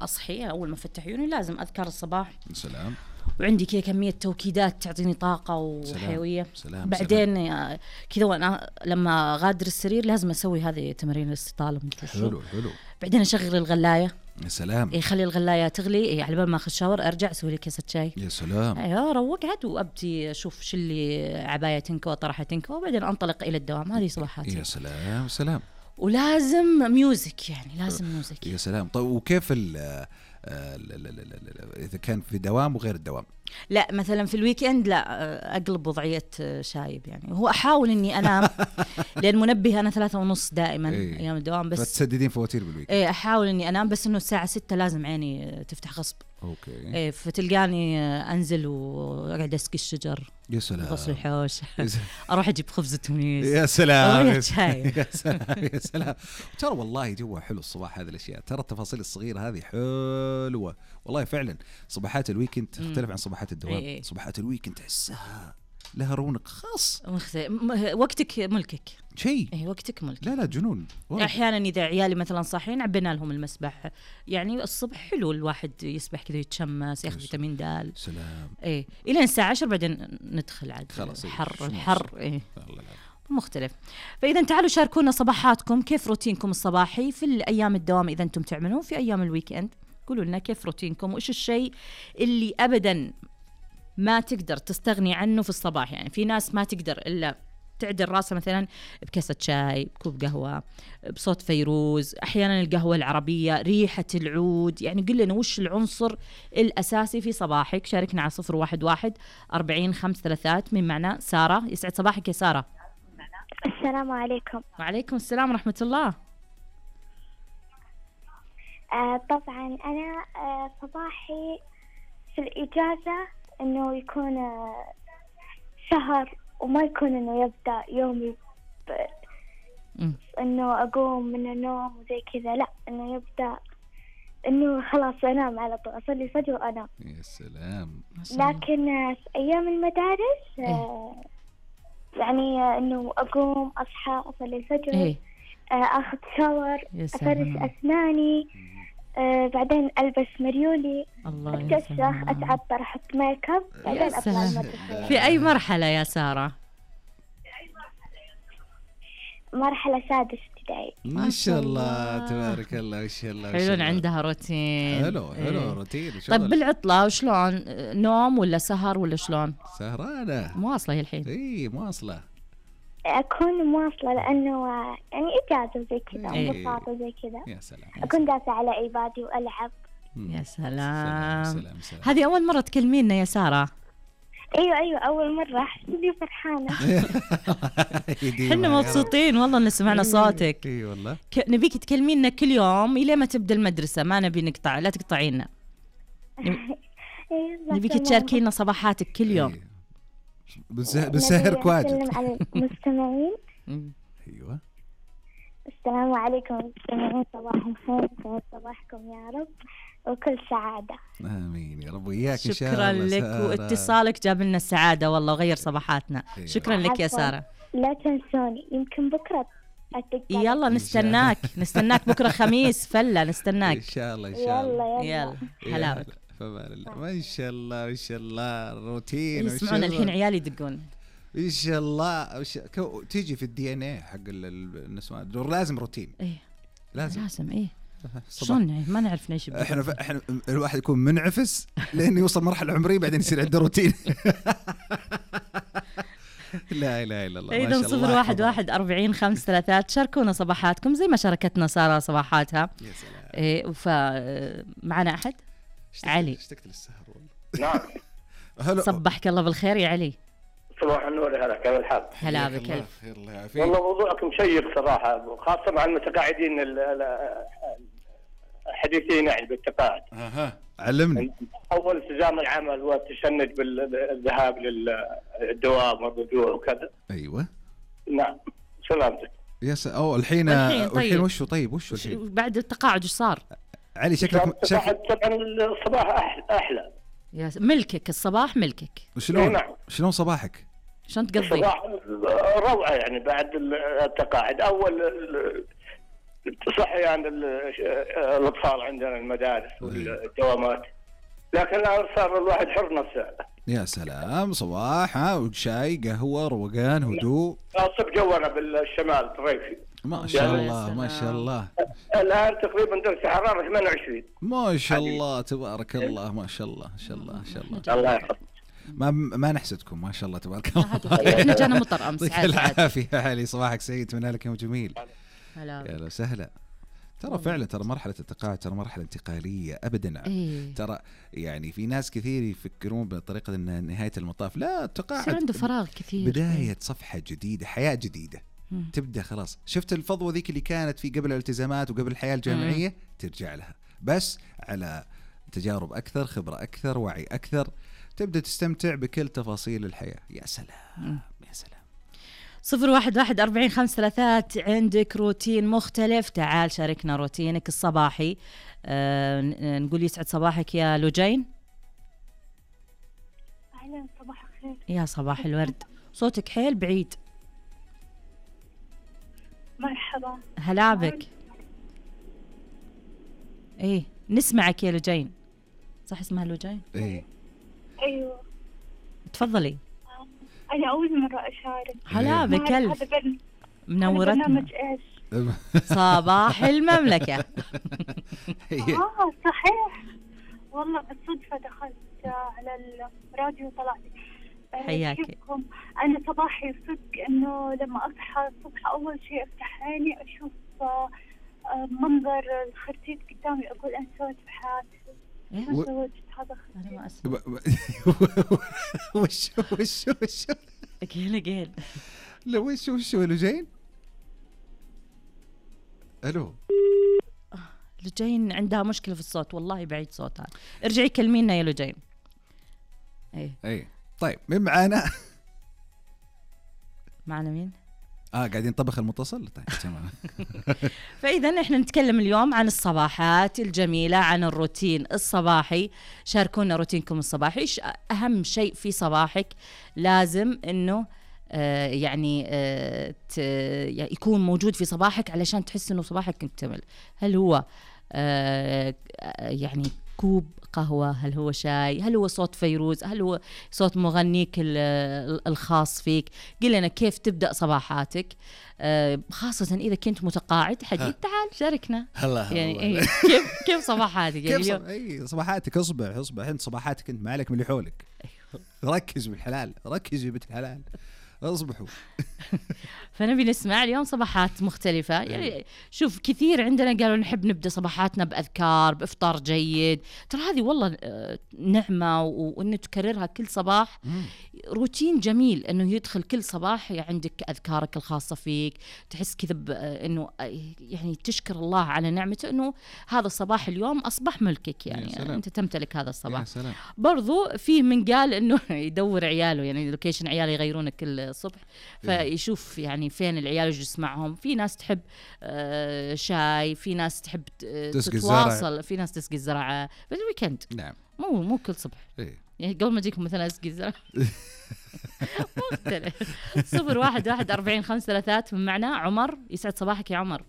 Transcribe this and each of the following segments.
أصحي أول ما أفتح عيوني لازم أذكر الصباح. سلام. وعندي كذا كمية توكيدات تعطيني طاقة وحيوية. سلام. بعدين كذا وأنا لما غادر السرير لازم أسوي هذه تمارين الاستطالة. حلو. بعدين أشغل الغلاية. يا سلام. يخلي الغلاية تغلي على بال ما أخذ شاور أرجع أسوي لي كاسة شاي. يا سلام. أيوة روقت وأبتي أشوف شو اللي عباية تنكوى طرحة تنكوى وبعدين أنطلق إلى الدوام. هذه صباحاتي. يا سلام. ولازم ميوزك يعني لازم ميوزك. يا سلام. طيب وكيف إذا كان في دوام وغير الدوام؟ لا مثلا في الويكند لا أقلب وضعية شايب يعني. هو أحاول إني أنام لأن منبه أنا 3:30 دائما أيام الدوام بس فتسددين فواتير بالويكند. أحاول إني أنام بس إنه الساعة 6 لازم عيني تفتح غصب. أوكي. فتلقاني أنزل وأقعد أسقي الشجر. يا سلام. غسل الحوش. أروح أجيب خبز تونس. يا سلام. يا سلام. ترى والله جوا حلو الصباح هذه الأشياء. ترى التفاصيل الصغيرة هذه حلوة والله فعلا. صباحات الويكند تختلف عن صباحات الدوام. صباحات الويكند تحسها لها رونق خاص. وقتك ملكك. شيء. وقتك ملك. لا جنون. أحيانا إذا عيالي مثلا صاحين عبينا لهم المسبح يعني الصبح حلو الواحد يسبح كذا يتشمس ياخذ فيتامين د. سلام. إلى الساعة 10 بعدين ندخل عاد الحر. مختلف. فإذا تعالوا شاركونا صباحاتكم كيف روتينكم الصباحي في الأيام الدوام إذا أنتم تعملون في أيام الويكند. قولوا لنا كيف روتينكم وإيش الشيء اللي أبدا ما تقدر تستغني عنه في الصباح. يعني في ناس ما تقدر إلا تعدل راسها مثلا بكاسة شاي بكوب قهوة بصوت فيروز. أحيانا القهوة العربية ريحة العود. يعني قل لنا وش العنصر الأساسي في صباحك. شاركنا على 011-40-533 من معنا سارة. يسعد صباحك يا سارة. السلام عليكم. وعليكم السلام ورحمة الله. طبعا أنا صباحي في الإجازة إنه يكون سهر وما يكون إنه يبدأ يومي إنه أقوم من النوم وزي كذا. لا إنه يبدأ إنه خلاص أنام على طول أصلي الفجر وأنام. يا سلام. لكن في أيام المدارس يعني إنه أقوم أصحى أصلي الفجر أخذ شاور أفرش أسناني بعدين ألبس مريولي أتكسخ أتعطر أحط ميك اب بعدين أطلع المدرسة. في أي مرحلة يا سارة؟ مرحلة سادس ابتدائي. ما شاء الله تبارك الله. ما شاء الله. حلو عندها روتين. حلو روتين. طيب بالعطلة وشلون نوم ولا سهر ولا شلون؟ سهرانة مواصلة هي الحين. مواصلة. أكون مواصلة لأنه يعني إجازة زي كذا انبساط وزي كذا. يا سلام. أكون جالسة على ايبادي وألعب. يا سلام. هذه أول مرة تكلمينا يا سارة؟ أيوة أول مرة. حسيتني فرحانة. حنا مبسوطين والله إن سمعنا صوتك. إي والله. نبيك تكلمينا كل يوم إلى ما تبدأ المدرسة. ما نبي نقطع لا تقطعينا. نبيك تشاركينا صباحاتك كل يوم. بسهر كواجد. نسلم على المستمعين. أيوة. السلام عليكم مستمعين. صباحكم خير. سعد صباحكم يا رب وكل سعادة. آمين يا رب وإياك إن شاء الله. شكرا لك واتصالك جاب لنا السعادة والله وغير صباحاتنا. شكرا لك يا سارة. لا تنسوني يمكن بكرة يلا نستناك بكرة خميس فلة نستناك إن شاء الله. يلا حلاوة. ما شاء الله الروتين. يسمعون الحين عيالي يدقون إن شاء الله. تيجي في الدي ان اي حق النسوان لازم روتين. لازم شلون ما نعرف نعيش. احنا الواحد يكون منعفس لين يوصل مرحله عمريه بعدين يصير عنده روتين. لا اله الا الله. إذا 011-40-533 شاركونا صباحاتكم زي ما شاركتنا سارة صباحاتها. يا سلام. فمعنا أحد علي. اشتقت للسهر والله. نعم. هلا. صبحك الله بالخير يا علي. صباح النور. هلا كيف الحال؟ هلا بك. الله يعافيك. والله موضوعك مشيق صراحة خاصة مع المتقاعدين الحديثين يعني بالتقاعد. علمني. أول التزام العمل والتشنج بالذهاب للدوام والرجوع وكذا. أيوة. نعم سلامتك. الحين وشو الحين بعد التقاعد وش صار؟ علي شكلك طبعا الصباح أحلى. يا ملكك الصباح ملكك. شلون صباحك؟ شلون تقضي؟ الصباح روعة يعني بعد التقاعد. أول صحي عند الأطفال عندنا المدارس والدوامات، لكن الآن صار الواحد حر نفسه. يا سلام، صباح شاي قهوة روقان هدوء. الصبح جونا بالشمال الريفي. ما شاء الله ما شاء الله. الآن تقريبا درجة حرارة 28. ما شاء الله تبارك الله، ما شاء الله ما شاء الله ما شاء الله. الله يحفظك. ما نحسدكم ما شاء الله تبارك الله. احنا جانا مطر امس. يعطيك العافية علي، صباحك سعيد، اتمنى لك يوم جميل. هلا يا لو سهلا. ترى فعلا ترى مرحلة التقاعد ترى مرحلة انتقالية أبدا. ترى يعني في ناس كثير يفكرون بطريقة أن نهاية المطاف لا، التقاعد يصير عنده فراغ كثير، بداية صفحة جديدة، حياة جديدة تبدأ. خلاص شفت الفضوة ذيك اللي كانت في قبل الالتزامات وقبل الحياة الجامعية ترجع لها، بس على تجارب أكثر، خبرة أكثر، وعي أكثر، تبدأ تستمتع بكل تفاصيل الحياة. يا سلام يا سلام. 01144533 عندك روتين مختلف، تعال شاركنا روتينك الصباحي. نقول يسعد صباحك يا لجين. أهلا، صباح الخير. يا صباح الورد، صوتك حيل بعيد. مرحبا. هلا بك. ايه نسمعك يا لجين. صح اسمها لجين؟ ايه ايوه تفضلي. أنا أول مرة أشارك. هلا بكلف. منورتنا. برنامج إيش؟ صباح المملكة. صحيح والله، بالصدفة دخلت على الراديو طلعت. حياكي. أنا صباحي صدق إنه لما أصحى الصبح أول شيء أفتح عيني أشوف منظر الخرتيت قدامي، أقول أنا سويت بحياتي. ما سويت هذا. أنا ما أسمع. وش قيل لا وش لجين؟ الو لجين عندها مشكلة في الصوت، والله بعيد صوتها. ارجعي كلمينا يا لجين. اي طيب مين معانا؟ معنا مين؟ قاعدين نطبخ المتصل. طيب تمام. فإذا احنا نتكلم اليوم عن الصباحات الجميلة، عن الروتين الصباحي. شاركونا روتينكم الصباحي، ايش أهم شيء في صباحك لازم إنه يكون موجود في صباحك علشان تحس إنه صباحك مكتمل. هل هو يعني كوب قهوة، هل هو شاي، هل هو صوت فيروز، هل هو صوت مغنيك الخاص فيك؟ قل لنا كيف تبدأ صباحاتك، خاصة إذا كنت متقاعد حديث. تعال شاركنا. هلا يعني كيف صباحاتك يعني صباحاتك. اصبح انت صباحاتك انت، ما عليك من اللي حولك. ركز بالحلال، ركزي بنت الحلال، اصبحوا. فنبي نسمع اليوم صباحات مختلفة. يعني شوف كثير عندنا قالوا نحب نبدأ صباحاتنا بأذكار، بإفطار جيد. ترى هذه والله نعمة، وإنه تكررها كل صباح روتين جميل، إنه يدخل كل صباح عندك أذكارك الخاصة فيك، تحس كذا إنه يعني تشكر الله على نعمته إنه هذا الصباح اليوم أصبح ملكك، يعني أنت تمتلك هذا الصباح. برضو فيه من قال إنه يدور عياله، يعني لوكيشن عياله يغيرونه كل الصبح، فيشوف يعني فين العيال يجلس يسمعهم. في ناس تحب شاي، في ناس تحب تتواصل، في ناس تسقي الزراعة بالويكند. نعم مو كل صبح. يعني قبل ما اجيكم مثلا اسقي الزراعة. مختلف. 01144533 من معنا عمر. يسعد صباحك يا عمر.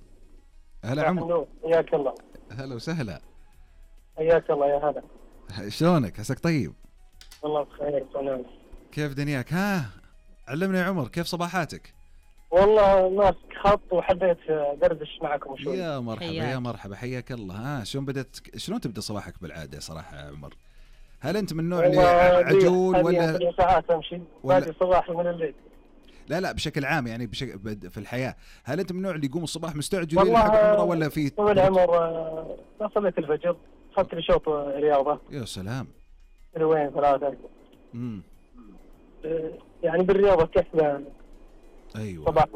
هلا عمر. حياك الله. هلا وسهلا. حياك الله يا هلا. شلونك؟ عساك طيب؟ والله بخير. سلام. كيف دنياك؟ علمنا يا عمر كيف صباحاتك؟ والله ماسك خط وحبيت دردش معكم شوي. يا مرحبا يا مرحبا، حياك الله. شلون تبدا صباحك بالعاده صراحه يا عمر؟ هل انت من النوع اللي عجول ولا ساعات امشي باقي صباح من الليل؟ لا بشكل عام يعني في الحياه، هل انت من النوع اللي يقوم الصباح مستعجل يلحق عمره ولا في طول العمر؟ صليت الفجر، اخذت لي شوط رياضه. يا سلام. وين 3 يعني بالرياضه كيف؟ ايوه صباح.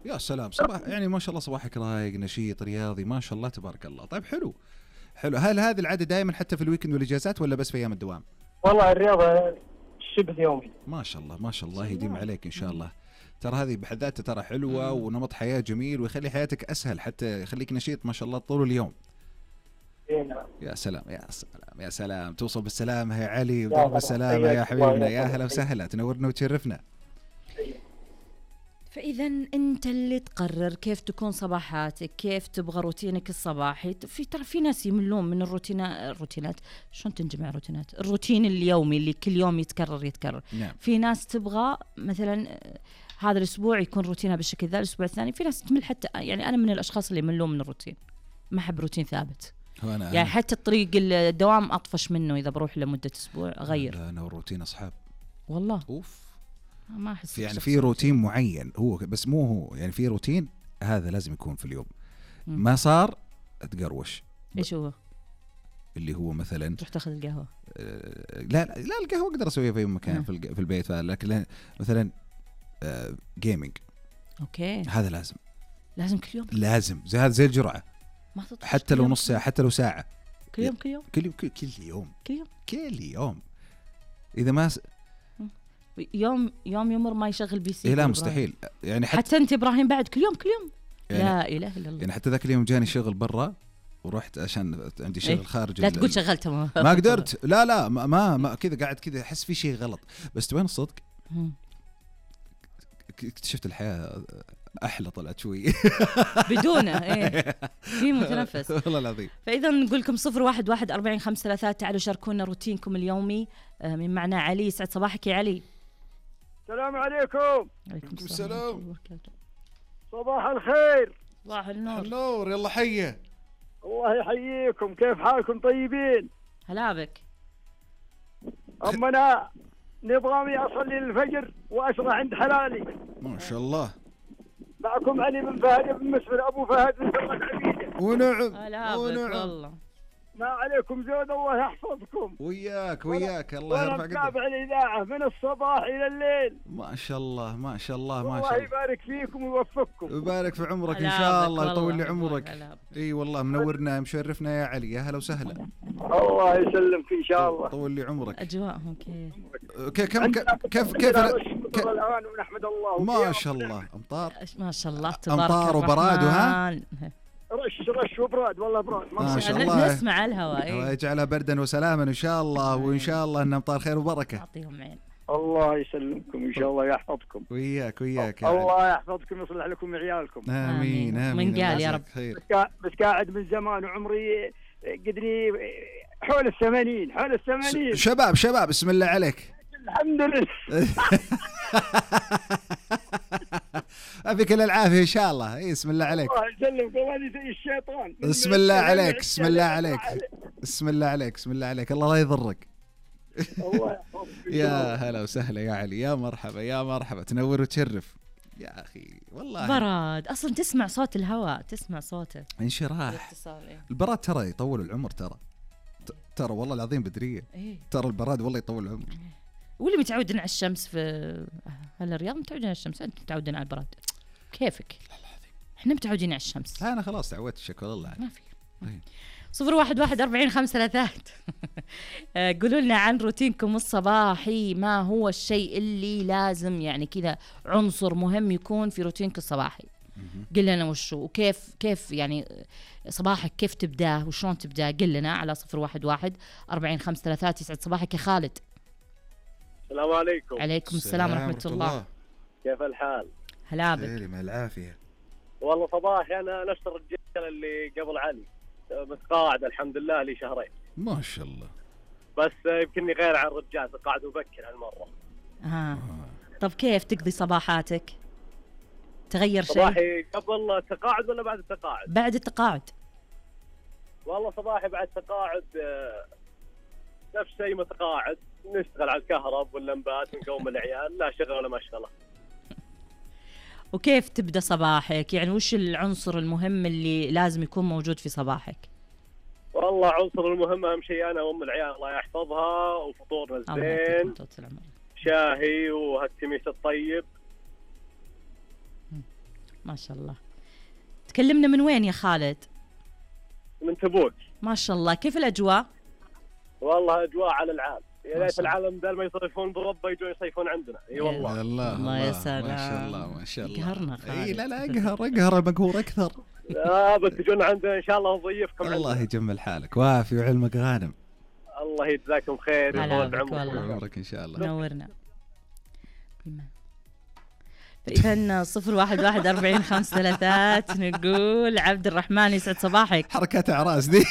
يا سلام صباح، يعني ما شاء الله صباحك رايق نشيط رياضي ما شاء الله تبارك الله. طيب حلو. هل هذه العاده دائما حتى في الويكند والاجازات ولا بس في ايام الدوام؟ والله الرياضه شبه يومي. ما شاء الله ما شاء الله، يديم عليك ان شاء الله. ترى هذه بحد ذاتها ترى حلوه ونمط حياه جميل ويخلي حياتك اسهل، حتى يخليك نشيط ما شاء الله طول اليوم. يا سلام يا سلام يا سلام. توصل بالسلامه يا علي وضرب السلامه يا حبيبنا. يا هلا وسهلا، تنورنا وتشرفنا. فإذا أنت اللي تقرر كيف تكون صباحاتك، كيف تبغى روتينك الصباحي. ترى في ناس يملون من الروتينات. شلون تنجمع روتينات؟ الروتين اليومي اللي كل يوم يتكرر. نعم. في ناس تبغى مثلا هذا الأسبوع يكون روتينها بالشكل ذا، الأسبوع الثاني في ناس تمل. حتى يعني أنا من الأشخاص اللي يملون من الروتين، ما أحب روتين ثابت. يعني حتى الطريق الدوام أطفش منه إذا بروح لمدة أسبوع أغير. أنا والروتين أصحاب والله. أوف. ما أحس يعني في روتين معين هو، بس مو هو يعني في روتين هذا لازم يكون في اليوم. ما صار أتقروش. إيش هو؟ اللي هو مثلا تروح تاخذ القهوة. لا القهوة أقدر أسويها في أي مكان في البيت، لكن مثلا جيمينج. أوكي. هذا لازم كل يوم. لازم زي الجرعة. حتى لو نص ساعة، حتى لو ساعة. كل يوم. إذا ما يوم يمر ما يشغل بي سي. لا مستحيل. يعني حتى أنت إبراهيم بعد كل يوم يعني لا إله إلا الله. يعني حتى ذاك اليوم جاني شغل برا ورحت عشان عندي شغل خارج. لا تقول شغلته ما قدرت. لا ما كذا قاعد كذا أحس في شيء غلط. بس تبين الصدق اكتشفت الحياة أحلى طلعت شوي بدونه. في متنفس والله العظيم. فإذا نقول لكم 011-4053 تعالوا شاركونا روتينكم اليومي. من معنا علي. يسعد صباحك يا علي. السلام عليكم. عليكم السلام. صباح الخير. صباح النور. يلا حيه. الله يحييكم. كيف حالكم؟ طيبين؟ هلا بك. أما أنا نظامي أصلي للفجر وأشرع عند حلالي. ما شاء الله. معكم علي بن فهد بن مسفر أبو فهد بن سرة عبيدة. ونعم. هلا بك والله. ما عليكم زود، الله يحفظكم. وياك الله يرفع قدرك. أتابع الإذاعة من الصباح إلى الليل. ما شاء الله الله يبارك فيكم ويوفقكم. يبارك في عمرك إن شاء الله، يطول لي عمرك. إي والله منورنا مشرفنا يا علي. يا هلا وسهلا. الله يسلمك إن شاء الله. طول لي عمرك. أجواءهم كيف الآن ونحمد الله. ما شاء الله. أمطار ما شاء الله تبارك أمطار وبراد وها رش وبراد. والله براد ما شاء الله. نسمع الهواء ويجعلها بردا وسلاما إن شاء الله. وإن شاء الله إن أمطار خير وبركة. يعطيهم عين. الله يسلمكم إن شاء الله يحفظكم. وياك الله يحفظكم ويصلح لكم عيالكم. آمين. من قال يا رب. بس قاعد من زمان وعمري قدري حول 80. شباب بسم الله عليك. الحمد لله. أبيك العافية إن شاء الله. بسم الله عليك. الله يسلمك. والله زي الشيطان. بسم الله عليك. بسم الله عليك. الله لا يضرك. الله يحفظك. يا هلا وسهلا يا علي. يا مرحبا تنور وتشرف يا أخي. والله براد أصلا تسمع صوت الهواء، تسمع صوته انشراح. البراد ترى يطول العمر. ترى والله العظيم بدرية. ترى البراد والله يطول العمر. واللي متعودين على الشمس في الرياض متعودين على الشمس. أنت متعودين على البراد كيفك؟ احنا متعودين على الشمس. أنا خلاص تعودت. الشكل الله ما في. 011-4053 قولوا لنا عن روتينكم الصباحي. ما هو الشيء اللي لازم يعني كذا عنصر مهم يكون في روتينك الصباحي؟ قل لنا وشو وكيف يعني صباحك كيف تبداه وشلون تبداه. قل لنا على 011-4053. يسعد صباحك يا خالد. السلام عليكم. عليكم السلام ورحمة الله. كيف الحال؟ هلا بك. خير مع العافية. والله صباحي أنا نفس الرجال اللي قبل علي، متقاعد الحمد لله لي شهرين. ما شاء الله. بس يمكنني غير عن الرجال، تقاعد مبكر هالمرة. طب كيف تقضي صباحاتك؟ تغير شيء؟ صباحي قبل التقاعد ولا بعد التقاعد؟ بعد التقاعد. والله صباحي بعد التقاعد نفس شيء متقاعد، نشتغل على الكهرب واللمبات ونقوم العيال، لا شغل ولا مشغلة. وكيف تبدأ صباحك؟ يعني وش العنصر المهم اللي لازم يكون موجود في صباحك؟ والله عنصر المهم أهم شيء أنا وأم العيال الله يحفظها، وفطورنا زين، شاهي وهالتميس الطيب. ما شاء الله. تكلمنا من وين يا خالد؟ من تبوك. ما شاء الله. كيف الأجواء؟ والله أجواء على العالم. يا ريت العالم بدل ما يصيفون بربا يجون يصيفون عندنا. اي والله. الله يا سلام. ما شاء الله. قهرنا خالد. اي لا اقهر المقهور اكثر. لا بس تجون عندنا ان شاء الله نضيفكم. الله يجمل حالك وافي وعلمك غانم. الله يجزاكم خير ويطول عمرك ان شاء الله. نورنا. إذن 01144533 نقول عبد الرحمن يسعد صباحك. حركات أعراس دي.